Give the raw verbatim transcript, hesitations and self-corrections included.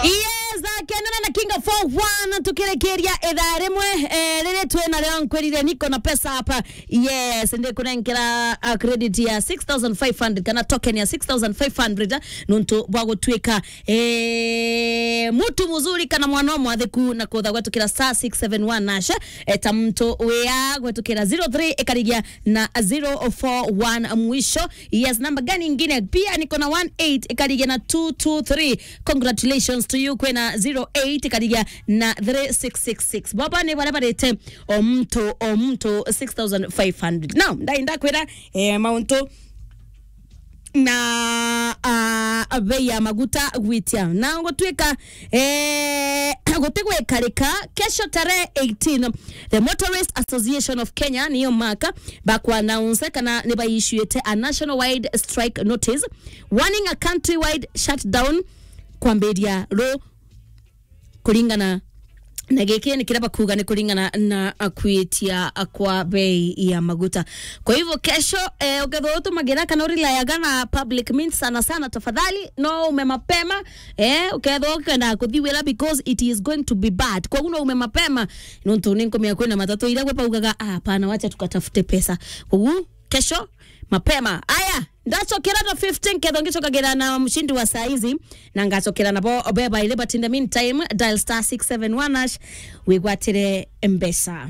Yes, akenana na King of four one, tukirikiria ithaa rimwe, eh, riri twi nario nkwirire niko na pesa hapa. Yes, ndikunenkera, uh, credit ya six thousand five hundred kana token ya six thousand five hundred, eh, nuntu bwa gutwika, eh, mutu muzuri kana mwana mwatheku na kutha gwetukira star six seven one hash, eh, ta muntu wia gwetukira zero three ikarigia na zero four one mwisho. Yes, namba gani ingine? Pia niko na one eight ikarigia na two two three. Congratulations to you, kwina zero eight ikarigia na three six six six. Baba ni baria barite o muntu, o muntu six thousand five hundred. Now, ndai ndakwira, eh, mauntu na, ah, bei ya maguta gwitia. Na gutwika, eh, gutigwikarika, kesho tarehe eighteen, the Motorist Association of Kenya, niyo maka, bakwa announce kana ni baissuete a nationwide strike notice, warning a countrywide shutdown kwambiria ru kuringana na giki ni kiria bakuga ni kuringana na akwitia kwa bei ya maguta. Kwa hivyo kesho, eh, ukethwa utumagira kana urelayaga na public means sana sana, tafadhali no ume mapema, eh, ukethwa ukenda kuthi wira because it is going to be bad. Kwa hiyo no ume mapema, nontu ni nkumenya kwina matatu iria gwe baugaga, "Ah, hapana, wacha tukatafute pesa." Kwa hiyo kesho mapema. Aya, ndacokera na fifteen, ketho ngicokagira na mshindi wa saa hizi, na ngacokera nabo beba ile, but in the meantime, dial star six seven one hash, wigwatire mbeca.